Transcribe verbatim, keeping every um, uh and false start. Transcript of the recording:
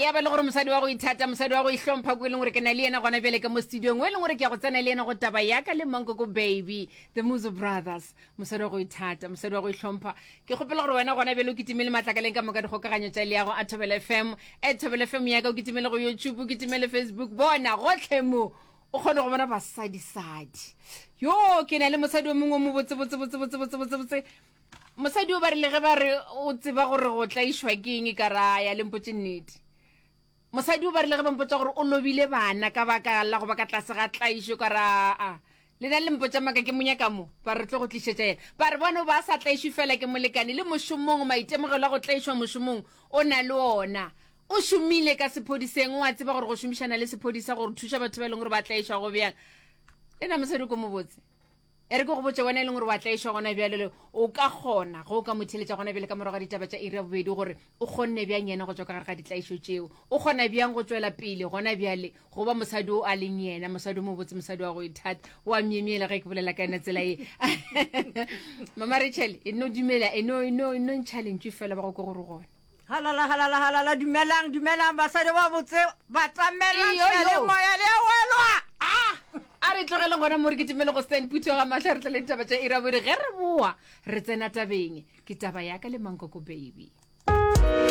ya ba le gore mosadi wa go ithata, mosadi wa go ihlompha ko e leng gore ke na le yena gona bjale ka mo studiong, o e leng gore ke ya go tsena le yena go taba ya ka le Mankoko Baby, the Muzo Brothers. Mosadi wa go ithata, mosadi wa go ihlompha. Ke kgopela gore wena gona bjale o kitimele matlakaleng ka moka dikgokaganyo tša leago a Thobela F M, at Thobela F M ya ka, o kitimele go YouTube, o kitimele Facebook, bona gotlhe mo o kgone go bona basadisadi. Yo ke na le mosadi o mongwe o mo botse botse botse botse botse botse botse. Mosadi o ba rile ge ba re o tseba gore go tlaišwa ke eng, e ka raya le mpotse nnete. Mosadi o ba rile ge ba mpotsa gore o lobile bana ka baka la go ba ka tlase ga tlaišo, ka ra a le na le mpotsa maka ke monyaka mo, ba re tlo go tlišetša yena. Ba re bone o ba sa tlaišwe fela ke molekane le mošomong, maitemogelo a go tlaišwa mošomong o na le ona. O šomile ka sephodiseng, o a tseba gore go šomišana le sephodisa gore thuša batho ba e leng gore ba tlaišwa go bjang. Le na mosadi ko mo botse, e re ke go botse wena e leng gore wa tlaišwa gona bjale, le o ka kgona ge o ka mo theletša gona bjale ka morago ga ditaba tša iri ya bobedi, gore o kgonne bjang yena go tswa ka gare ga ditlaišo tšeo, o kgona bjang go tswela pele gona bjale go ba mosadi o a leng yena, mosadi o mobotse, mosadi wa go ithata, o a myemyela ge ke bolela ka yena tsela ye. Mama Rachel, e no dumela, e no e no e no ntšha lentšu fela ba go ke gore gona. Halala, halala, halala! Dumelang, dumelang, basadi ba botse, batamelang. Iyo, yo. Seyalemoya le a welwa. Ah, a re tlogeleng gona mo, re kitimele go Stan Putho ga mahlo, re tlele ditaba tša iri ya bobedi. Ge re boa re tsena tabeng, ke taba ya ka le Mankoko Baby.